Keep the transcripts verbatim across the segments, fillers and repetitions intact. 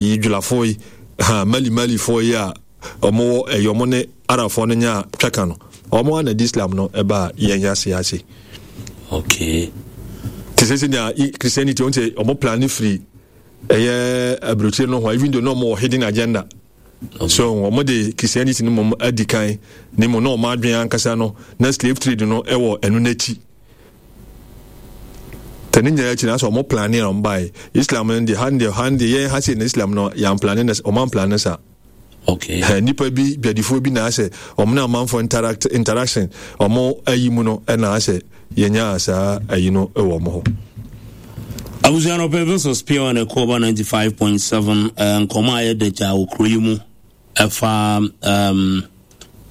Yi dwulafoɔ yi ha, Mali Malifoɔ yi a ɔmo wɔ ɛyɛ ɔmo ne Arabfoɔ no nya twaka no, ɔmo ana de Islam no ɛba yɛn ase ase. Okay te sɛ sɛnea Christianity ɔn sɛ ɔmo plan firi ɛyɛ aburokyire no ho, even though na ɔmo wɔ hidden agenda. Okay. So ɔmo de Christianity no mom adi kan ne mu na ɔmo adwene ankasa no na slave trade no ɛwɔ ɛno n'akyi. Tɛ ne nyinaa akyi na sɛ ɔmo plan a ɔmo baeɛ Islam no deɛ, ha deɛ ha deɛ yɛn ha sei na Islam no yɛn plan na ɔmo amplan sa. Okay nipa bi dwadifoɔ bi na asɛ ɔmo ne amanfoɔ interact interaction ɔmo ayi mu no, ɛna asɛ yɛnya saa ayi no ɛwɔ ɔmo hɔ. Abusua no pɛ versus Pure ne Koba ninety-five point seven. Nkɔmɔ a yɛda gya wɔ kuro yi mu ɛfa um,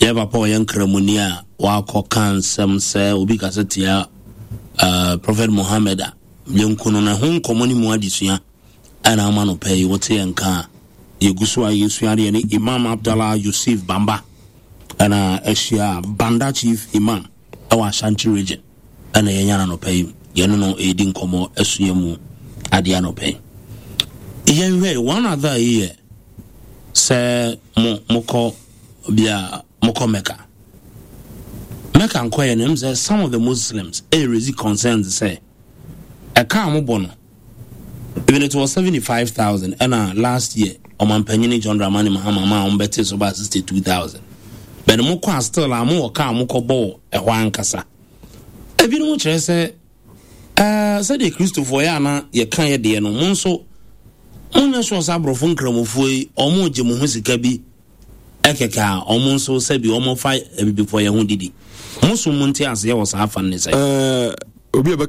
yɛ papa ɔyɛ Nkramoni a wakɔ ka nsɛm sɛ obi kasa tia uh, Prophet Muhammad a yɛnku no no ho nkɔmmɔ no mu adesua ɛna ama no pɛ yi. Wote yɛn ka a, yɛgu so a yɛsua adeɛ ne Imam Abdallah Yusuf Bamba ɛna ahyia Banda Chief Imam ɛwɔ Ashanti Region, ɛna yɛnya no nɔpɛ yi, yɛne no ɛredi nkɔmmɔ asua mu adeɛ anɔpɛ yi. Yɛnhwɛ one other yi yɛ sɛ mo mokɔ bia mokɔ Mecca. Mecca nkɔyɛ no m sɛ some of the Muslims ɛyɛ raise concerns sɛ ɛka a mobɔ no, even it was seventy-five thousand, ɛna last year ɔmampanyini John Dramani Mahama ma a wɔbɛte so ba sixty-two thousand, but mokɔ a still a mowɔ ka a mokɔbɔ wɔ ɛhɔ ankasa. Ebinom kyerɛ sɛ ɛɛ sɛdeɛ Kristofoɔ yɛ ana yɛka yɛ deɛ no, mo nso monyɛ sure sɛ aborɔfo Nkramofoɔ yi ɔmo gye mo ho sika bi ɛkɛkɛ a ɔmo nso sɛbi ɔmo fa abibifoɔ yɛn ho didi. Mo so mo nte aseɛ wɔ saa afa no ne sɛ ɛɛ obi a bɛka